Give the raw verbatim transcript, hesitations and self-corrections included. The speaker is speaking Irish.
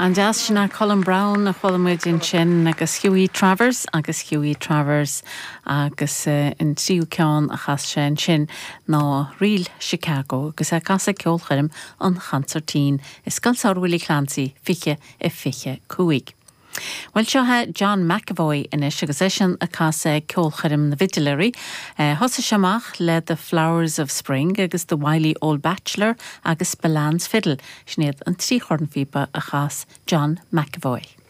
An-deas sin é Colm Browne a chuala muid ansin agus Hughie Travers agus Hughie Travers agus uh, an tríú ceann a chas sé ansin ná Ríl Chicago agus é casadh ceolchoirm an Chansairtín i Scoil Samhraidh Willie Clancy fiche a fiche cúig. Well seo é John McEvoy anois agus eisean ag casadh ceolchoirm na bhfidléirí. Uh, Thosaigh sé amach le The Flowers of Spring agus The Wily Old Bachelor agus Spillane's Fiddle, sin iad an trí chornphíopa a chas John McEvoy.